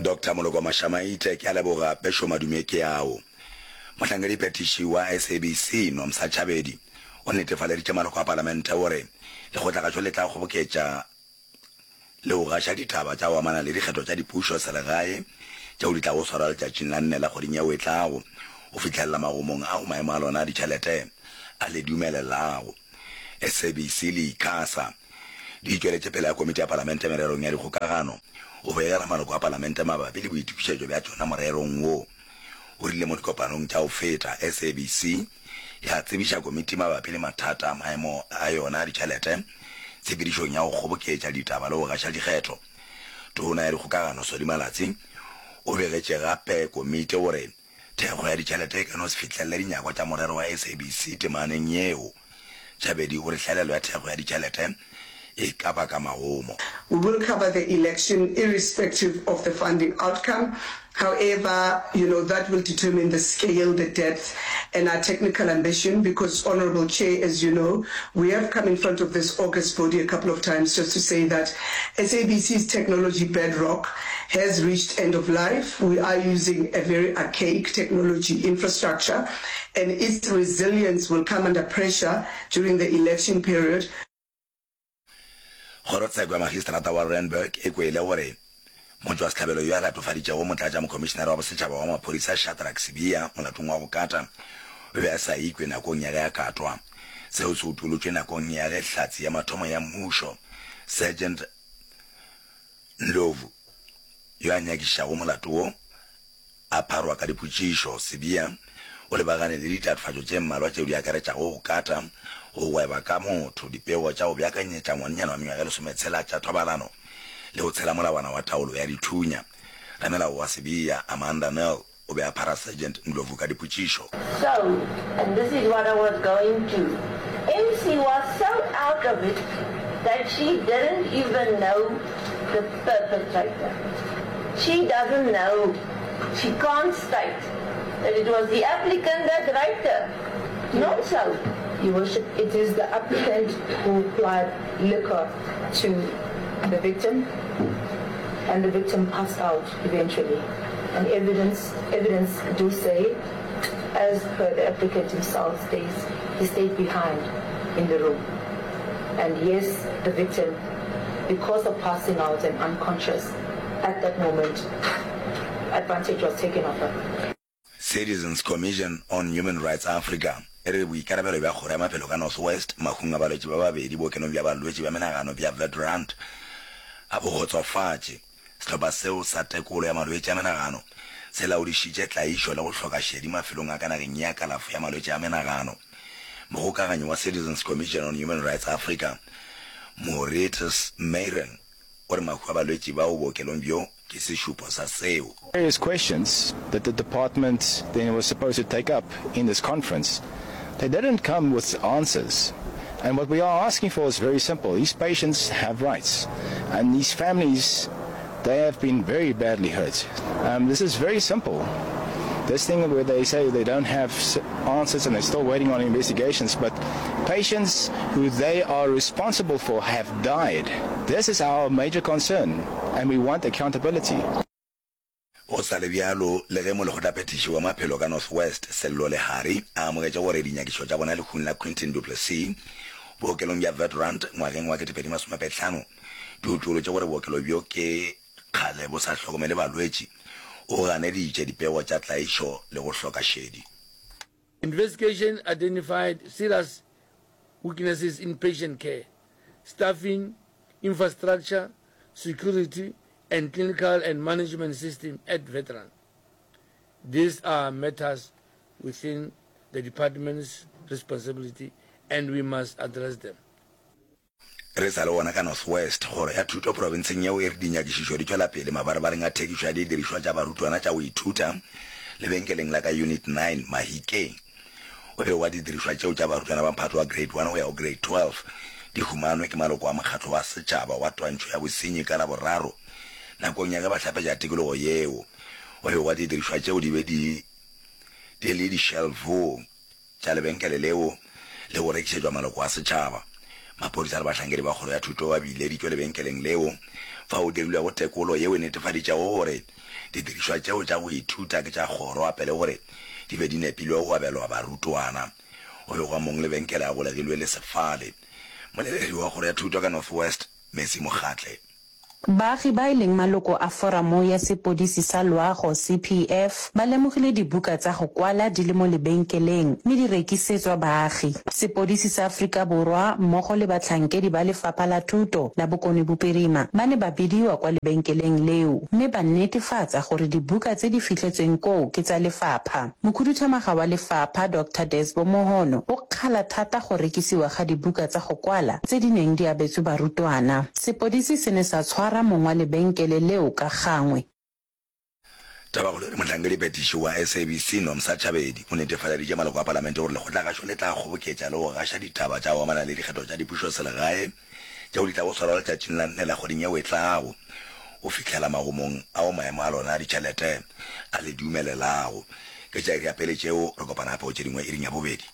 Doctor Moloko Mashamaite, Ke a leboga Bešo madume ke ao. Mohlankediphethiši wa SABC, Nomsa Chabedi, o netefaleditše maloko a palamente gore lekgotlagašo le tla kgoboketša le go gaša ditaba tša go amana le dikgetho tša dipušo selegae tšeo di tlago swarwa letšatšing la nne la kgweding yeo e tlago go fihlelela magomong ao maemo a lona a ditšhelete a le dumelelago. SABC le ICASA di tšweletše pele ga Komiti ya Palamente Mererong ya Dikgokagano go begela maloko a Palamente mabapi le boitokišetšo bja tšona morerong wo. O rile mo dikopanong tša go feta, SABC ya tsebiša komiti mabapi le mathata a maemo a yona a ditšhelete tshepedišong ya go kgoboketša ditaba le go gaša dikgetho. Tona ya Dikgokagano Solly Malatsi o begetše gape komiti gore thekgo ya ditšhelete e ka no se fihlelele dinyakwa tša morero wa SABC temaneng yeo. Tšhabedi o re hlaelelo ya thekgo ya ditšhelete e ka baka magomo. We will cover the election irrespective of the funding outcome. However, you know, that will determine the scale, the depth and our technical ambition because, Honourable Chair, as you know, we have come in front of this august body a couple of times just to say that SABC's technology bedrock has reached end of life. We are using a very archaic technology infrastructure and its resilience will come under pressure during the election period. Kgorotsheko ya Magistrata wa Randburg e kwele gore motšwasehlabelo yo a latofaditšego Motlatšamokhomišenare wa Bosetšhaba wa Maphodisa Shadrack Sibiya molatong wa go kata o be a sa ikwe nakong ya ge a katwa. Seo se utolotšwe nakong ya ge hlatse ya mathomo ya mmušo, Sergeant Ndlovu, yo a nyakišišago molato wo, A pharwa ka dipotšišo, Sibiya o lebagane le ditatofatšo tše mmalwa tšeo di akaretšago go kata, go gweba ka motho, dipego tša go beakanyetša ngwanenyana wa mengwaga e lesometshela tša thobalano le go tshela molawana wa taolo ya dithunya. Ramelao wa Sibiya, Amanda Nel, o be a phara Sergeant Ndlovu ka dipotšišo. So, and this is what I was going to, MC was so out of it that she didn't even know the perpetrator. She doesn't know, she can't state that it was the applicant that raped her. Not so. Your Worship, it is the applicant who applied liquor to the victim and the victim passed out eventually. And evidence, evidence do say, as per the applicant himself states, he stayed behind in the room. And yes, the victim, because of passing out and unconscious at that moment, advantage was taken of her. Citizens Commission on Human Rights Africa e re boikarabelo bja Kgoro ya Maphelo ka North West mahung a balwetši ba babedi bookelong bja balwetši bja menagano bja Witrand ga bo kgotsofatše. Sehlopha seo sa tekolo ya malwetši a menagano se laodišitše tlaišo le go hloka šedi mafelong a ka nageng ya kalafo ya malwetši a menagano. Mogokaganyi wa Citizens Commission on Human Rights Africa, Mauritius Meiring, o re mahu a balwetši bao bookelong bjo ke sešupo sa seo. Various questions that the department then was supposed to take up in this conference, they didn't come with answers. And what we are asking for is very simple. These patients have rights, and these families, they have been very badly hurt. Um, this is very simple. This thing where they say they don't have answers and they're still waiting on investigations, but patients who they are responsible for have died. This is our major concern, and we want accountability. Go sa le bjalo, le ge Molekgotlaphethiši wa Maphelo ka North West, Sello Lehari, a amogetše gore dinyakišo tša bona lehung la Quinton du Plessis bookelong bja Witrand ngwageng wa 2025 di utolotše gore bookelo bjo ke kgale bo sa hlokomele balwetši, o ganeditše dipego tša tlaišo le go hloka šedi. Investigation identified serious weaknesses in patient care, staffing, infrastructure, security and clinical and management system at Veteran. These are matters within the department's responsibility and we must address them. Re sa le gona ka North West, Kgoro ya Thuto profenseng yeo e re dinyakišišo di tšwela pele mabarebareng a thekišo ya didirišwa tša barutwana tša go ithuta lebenkeleng la ka Unit 9, Mahikeng. O begwa didirišwa tšeo tša barutwana ba mphato wa Grade 1 go ya go Grade 12 di humanwe ke maloko a mokgatlo wa setšhaba wa twantšho ya bosenyi ka Laboraro nakong ya ge ba hlapetša tikologo yeo. O begwa didirišwa tšeo di be di di le dišelfong tša lebenkele leo le go rekišetšwa maloko a setšhaba. Maphodisa le bahlankedi ba kgoro ya thuto ba bileditšwe lebenkeleng leo. Fao dirilwego tekolo yeo e netefaditšego gore didirišwa tšeo tša go ithuta ke tša kgoro gape le gore di be di nepilwe go abelwa barutwana. Go begwa mong lebenkele a golegilwe le sefale. Moleledi wa kgoro ya thuto ka North West, Mercy Mokgatle. Baagi ba e leng maloko a Foramo ya Sepodisi sa Loago, CPF, ba lemogile dibuka tsa go kwala di le mo lebenkeleng mme di rekisetswa baagi. Sepodisi sa Afrika Borwa mmogo le batlhankedi ba Lefapha la Thuto la Bokone Bophirima ba ne ba bidiwa kwa lebenkeleng leo mme ba netefatsa gore dibuka tse di fitlhetsweng koo ke tsa lefapha. Mokhuduthamaga wa lefapha, Doctor Desbo Mohono, o kgala thata go rekisiwa ga dibuka tsa go kwala tse di neng di abetswe barutwana. Sepodisi se ne sa tshwara mong wa lebenkele leo ka gangwe. Tabakgolo e re Mohlankediphethiši wa SABC, Nomsa Chabedi, o netefaleditše maloko a palamente gore lekgotlagašo le tla kgoboketša le go gaša ditaba tša go amana le dikgetho tša dipušoselegae tšeo di tlago swarwa letšatšing la nne la kgweding yeo e tlago go fihlela magomong ao maemo a lona a ditšhelete a le dumelelago. Ke tša iri ya pele tšeo, re kopana gape go tše dingwe iring ya bobedi.